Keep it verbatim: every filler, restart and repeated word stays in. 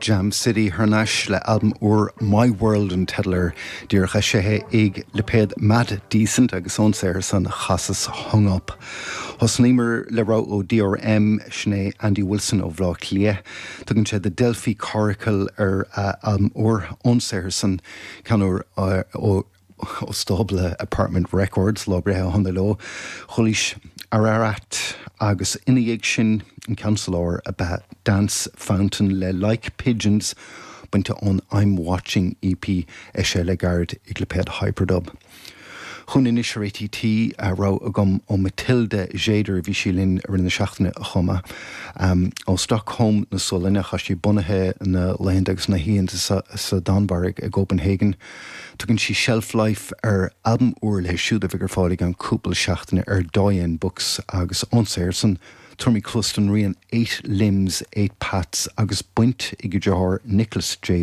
Jam City thar n-ais le albam úr My World an teideal air díreach eisithe ag lipéad Mad Decent agus ón saothar san chasas Hung Up. Thosnaíomar le rogha ó DRM sin é Andy Wilson ó Bhaile Átha Cliath. Tugann sé The Delphi Coracle ar albam úr ón saothar san ceann úr ó ó stábla Apartment Records lá breithe Honda leo, Chulis Ararat agus ina dhiaidh sin an ceann sa lár ab ea Dance Fountain le Like Pigeons bainte ón I'm Watching EP eisithe le gairid ag lipéad Hyperdub. Chun anois ar ATT a rogha agam ó Matilda Tjäder bhí sí linn ar na seachtaine a chuma. Um, ó Stockholm na Sualainne tá sí bunaithe na laethanta agus na hoícheanta sa, sa Danmhairg i Copenhagen. Tugann sí Shelf Life ar albam úr léi siúd a bheidh ar fáil i gceann cúpla seachtaine ar Doyen Books agus ón saothar san tabharfaimid cluas don rian Eight Limbs, Eight Paths agus baint ag deartháir Nicholas J.